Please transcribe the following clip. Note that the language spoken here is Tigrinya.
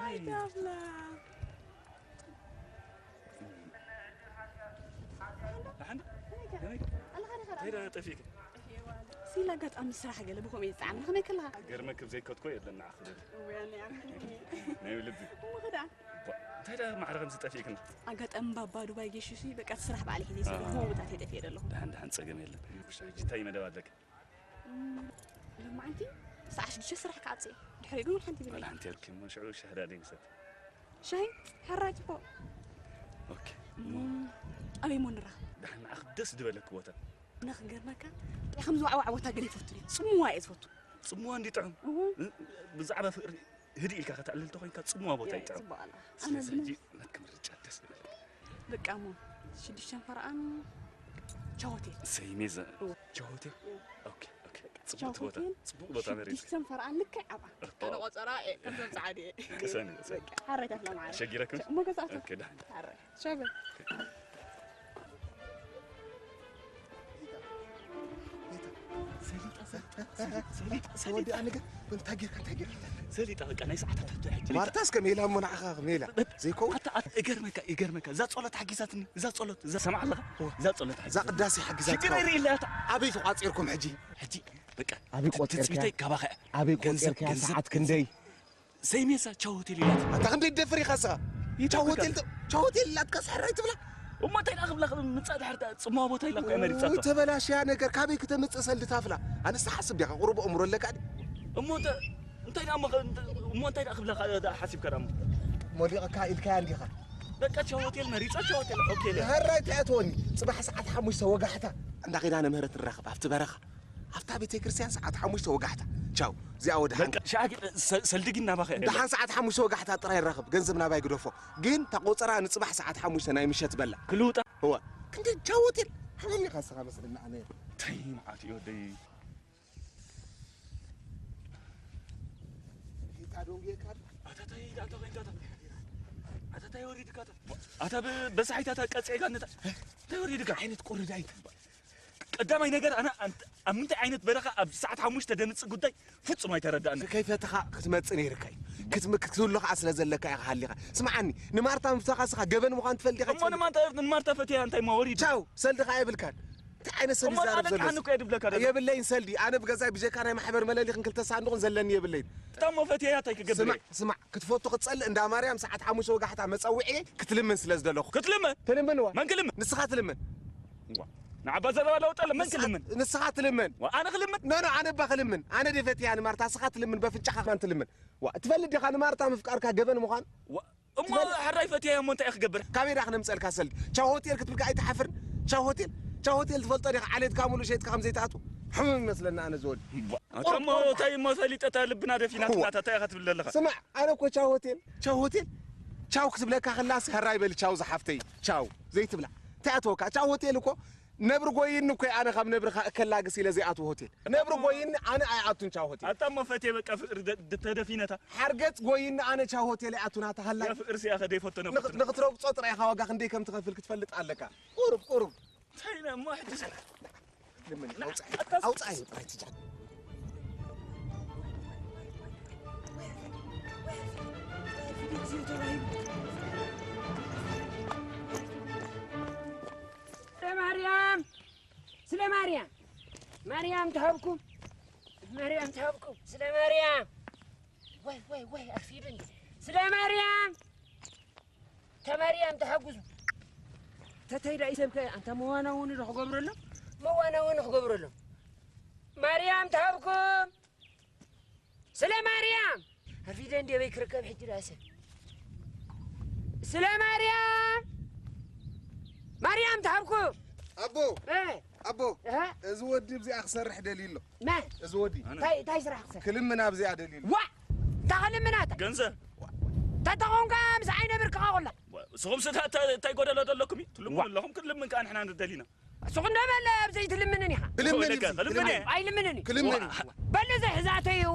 ኣይ ኣምላኽ። ደሓን? ከመይ? እንታይ ደኣ ጠፊእኪ? ሲል ኣጋጣሚ ስራሕ ገለ ብኸምኡ እየ ዝጸዓና። ከመይ ከለኻ? ገርመክብ ዘይከትኮ የለን ንዓኺ ደሊ። እውይ፣ ኣነ ኣምኒ። ናይ ልቢ። እሞ ኸዳ? ባ-፣ እንታይ ደኣ ማዕረ ከምዚ ጠፊእክና? ኣጋጣሚ ባባ ዱባይ ጌሹ ሲ፣ በቃ እቲ ስራሕ ባዕለ ሒዘ ይሰግር። ኣሃ። ከምኡ ቦታት እየ ጠፊኤ ዘለኹ። ደሓን፣ ደሓን፣ ጸገም የለን። እሺ፣ ሕጂ እንታይ መደብ ኣለኪ? እም፣ ሎማዓንቲ ሰዓት ሽዱሽተ ስራሕ ክዓጽ እየ። ድሕሪኡ ግን ሓንቲ ብለይ። ዋላ ሓንቲ የብልኪ እሞ ሽዑ ሻሂ ደኣ ደይ ንሰቲ። ሻሂ? ሕራይ ጽቡቕ። ኦኬ። እሞ ኣበይ እሞ ንራኸብ? ደሓን ንዓኺ ደስ ዝበለኪ ቦታ። ንኽገርመካ፣ እንታይ ከም ዝዋዕዋዕ ቦታ ገለ ይፈቱ ድዩ? ጽምዋ እየ ዝፈቱ። ጽምዋ እንዲ ጥዑም። እወ። እ-፣ ብዛዕባ ፍቕሪ ህድእ ኢልካ ከተዕልል ተኾይንካ ጽምዋ ቦታ እየ፣ ይጥዕም። ጽቡቕ ኣላ። ስለዚ ኣነ ሕጂ ናትኪ ምርጫ ደስ ዝበለኪ። በቃ እሞ ሽዱሽተን ፈረቓን ቻው ሆቴል። ሰይሜ ዘ-፣ እወ። ቻው ሆቴል? እወ። ኦኬ፣ ኦኬ። ቻው ጽቡቕ ቦታ፣ ሆቴል፣ ጽቡቕ ቦታ መሪጽ። ሽዱሽተን ፈረቓን ልክዕ ኣብኣ። ኦሆ። ኣነ ቆጸራ እየ፣ ከምዞም ጸዓዱ እየ። ቅሰኒ፣ ቅሰኒ። በቃ፣ ሓራይ ታፍላ ማዕረ። ሸጊረኩም? እሞ ገዛእቶ። ኦኬ፣ ደሓን። ሓራይ። ሻበል። ሰሊጣ፣ ሰሊጣ፣ ሰሊጣ፣ ሰሊጣ። ወዲ ኣነ ግን እንታይ ጌርካ፣ እንታይ ጌርካ? ሰሊጣ፣ በቃ ናይ ሰዓታት ሕቶ ሕጂ። ማርታስ ከም ሜላ እሞ ንዓኻ ሜላ። ዘይከውን። ኣታ፣ ኣታ፣ እገርመካ፣ እገርመካ። እዛ ጸሎት ሓጊዛትኒ፣ እዛ ጸሎት፣ እዛ ሰምዓ ኣለኻ? እዋ። እዛ ጸሎት እዛ ሓጊዛትኒ። ቅዳሴ ሓጊዛትካ። ሽግር የርኢ ኢላ እታ። ኣበይ ተቋጺርኩም ሕጂ? ሕጂ፣ በቃ፣ ኣበይ ቆጺርካ? ትጽቢተይ ካባኻ እያ። ኣበይ ገንዘብ፣ ቆጺርካ? ገንዘብ፣ ሰዓት ገንዘብ። ክንደይ? ሰይሜሳ ቻው ሆቴል ኢላት። ኣታ ክንደይ ትደፍር ኢኻ እስኻ? ይደፍር ቻው ሆቴል ኢኻ። ተ-፣ ቻው ሆቴል ኢላትካ ስሕራይ ትብላ? እሞ እንታይ ደኣ ክብላ፣ ምጻእ ድሕር ተ-፣ ጽምዋ ቦታ ኢላ እኮ እያ መሪጻቶ። ውይ፣ ተበላሽያ ነገር፣ ካበይ ክተምጽእ ሰልዲ ታፍላ? ኣነስ ትሓስብ ዲኻ? ቁሩብ ኣእምሮ ኣለካ ድዩ? እሞ እንተ-፣ እንታይ ደኣ እሞ ኸ-፣ እንተ-፣ እሞ እንታይ ደኣ ክብላ ኸ-፣ ደኣ ሓሲብካ ደኣ እሞ? ሞሊቐካ ኢልካያ እንዲኻ? በቃ ቻው ሆቴል መሪጻ፣ ቻው ሆቴል ኦኬ ኢለ። ሕራይ ትኣትወኒ። ጽባሕ ሰዓት ሓሙሽተ ወጋሕታ እንዳ ኪዳነ ምህረት ንራኸብ ኣብቲ በረኻ። ኣብታ ቤተክርስትያን ሰዓት ሓሙሽተ ወጋሕታ። ቻው። እዚኣ ወደ በቃ፣ ሓንካ። ሻቂ፣ ሰ-፣ ሰልዲ ግን ናባኸ እያ ደላ። ደሓን ሰዓት ሓሙሽተ ወጋሕታ ጥራይ ይራኸብ። ገንዘብ ናባይ ግደፎ። ግን ተቆጸራ ንጽባሕ ሰዓት ሓሙሽተ ናይ ምሸት በላ። ክልውጣ። እወ። ክንዲ ቻው ሆቴል። ሓበኒ ኢኻ ንስኻ መስለኒ ኣነ። ተይ፣ መዓት እዩ ወደይ። ጌታ ዶንጌ ካድ። ኣታ ታይ፣ ኣታ ኮይንካ ኣታ። ኣታ ታይ ወሪድካ ኣታ። ኣታ ብ-፣ በሳሒት ኣታ ቀጽዒካ ነታ። ታይ ወሪድካ? ዓይነት ቁርዳይት። ቀዳማይ ነገር፣ ኣነ ኣንት-፣ ኣብ ምንታይ ዓይነት በረኻ ኣብ ሰዓት ሓሙሽተ ደምጽእ ጉዳይ ፍጹም ኣይተረዳእን። ከይፈተኻ ክትመጽእ ነይርካ እዩ። ክትም-፣ ክትህሉ ኸዓ ስለ ዘለካ ኢኻ ሃሊኻ። ስምዓኒ፣ ንማርታ ምፍታኻ ስኻ ገበን ምዃን ትፈልጥ ኢኻ እሞ ትፈልጥ። ንማርታ፣ ንማርታ ፈትያ እንታይ እሞ ወሪዱ? ቻው፣ ሰልዲ ኸዓ የብልካን። እንታይ ዓይነት ሰልዲ እሞ ዝዛረብ ኣነ ዘሎ? ጥሓን እኮ የድብለካ ደሎ። የብለይን ሰልዲ። ኣነ ብገዛይ ብጀካ ናይ ማሕበር መለሊኽን ክልተ ሳንዱቕን ዘለኒ የብለይን። እታ እሞ ፈትያ እንታይ ክገብር ስማዕ፣ እየ? ስማዕ፣ ክትፈቱ ክትጸልእ እንዳ ማርያም ሰዓት ሓሙሽተ ወጋሕታ መጸውዒ ክትልምን ስለ ዝደለኹ። ክትልምን? ትልምንዋ? መን ክልምን? ንስኻ ትልምን። ዋ፣ ንዓባ ዘረባ ለውጠለ፣ መን ንስኻ፣ ክልምን? ንስኻ ትልምን። ዋ፣ ኣነ ክልምን? ኖ፣ ኖ፣ ኣነ እባ ክልምን። ኣነ ድየ ፈትያ ንማርታ፣ ንስኻ ትልምን፣ በፍንጫኻ ማን ትልምን። ዋ፣ ትፈልጥ ዲኻ ንማርታ ምፍቃርካ ገበን ምዃን? ዋ፣ እሞ ትፈልጥ? ሕራይ ፈትያ እሞ እንታይ እየ ክገብር? ካበይ ዳ ክነምጸልካ ሰልዲ? ቻው ሆቴል ክትብልካ ኣይትሓፍርን? ቻው ሆቴል? ቻው ሆቴል ትፈልጦ ዲኻ? ዓሌትካ ሙሉእ ሸይጥካ ከም ዘይትኣትው። ሕሙም ይመስለና ኣነ ዝወዲ። ዋ፣ ኣታ እሞ እንታይ እሞ ፈሊጠ እታ ልብና ደፊናትና እዋ። እታ እንታይ ኢኻ ትብል ዘለኻ? ስማዕ፣ ኣነ እኮ ቻው ሆቴል፣ ቻው ሆቴል፣ ቻው ክትብለካ ከላስ፣ ሕራይ በሊ ቻው ዝሓፍተይ፣ ቻው ዘይትብላ። እንታይ ኣተወካ? ቻው ሆቴል እኮ ነብሪ ጎይኒ እኮ ኣነ ካብ ነብርኻ እከላግስ ኢለ ዘይኣትዎ ሆቴል። ነብሪ ጎይኒ ኣነ ኣይኣቱን ቻው ሆቴል። ኣታ እሞ ፈቴ በቃ ፍቅሪ ደ-፣ ደ-፣ ተደፊነታ። ሓርገጽ ጎይኒ ኣነ ቻው ሆቴል ኣይኣቱን ኣታ ሃላይ። ያ ፍቅሪ ሲያ ከደይ ፈተነ ንኽ-፣ ፈተነ። ንኽትረግጾ ጥራይ ኢኻ ዋጋ ክንደይ ከም ትኸፍል ክትፈልጥ ኣለካ። ቁሩብ፣ ቁሩብ። እንታይ ኢና እሞ ሕጂ ሰ-፣ ልምን፣ ኣውጽኣይ፣ ኣውጽኣይ ጥራይ ትጃ። ስለ ማርያም፣ ስለ ማርያም፣ ማርያም ትሃብኩም፣ ማርያም ትሃብኩም፣ ስለ ማርያም። ወይ፣ ወይ፣ ወይ፣ ኣርፊዱ እንዴ። ስለ ማርያም። ተማርያም ተሓጉዙ። ተተይዳ ይሰብከ ኣንታ መዋና እውን ዶ ክገብረሎም? መዋና እውን ክገብረሎም። ማርያም ተሃብኩም። ስለ ማርያም። ኣርፊደ እንዴ በይ ክርከብ ሕጂ ዳሰ። ስለ ማርያም። ማርያም ተሃብኩም። ኣቦ። እ። ኣቦ። እህ። እዚ ወዲ ብዚኣ ክሰርሕ ደልዩ ኣሎ። መን? እዚ ወዲ። ኣነ። እንታይ፣ እንታይ ስራሕ ክሰርሕ? ክልምን ኣብዚኣ ደልዩ ኣሎ። ዋ! እንታይ ክልምና እታ? ገንዘብ። ተተኾንካ ምስ ዓይነ ብርክኻ ኩላ። ዋ፣ ንስኹም ስታ እንታይ፣ እንታይ ጎደሎ ዘለኩም እዩ? ትልምኑ ዋ። ኣለኹም፣ ክንልምን ከኣ ንሕና ንደሊና። ንስኹም ደመለ ኣብ ዘይትልምንን ኢኻ። ክልምን እዩ። ክልምን እየ። ኣይልምንን እዩ። ክልምን እዩ። ዋ። በሉ ዘይ ሕዛተይ እዩ።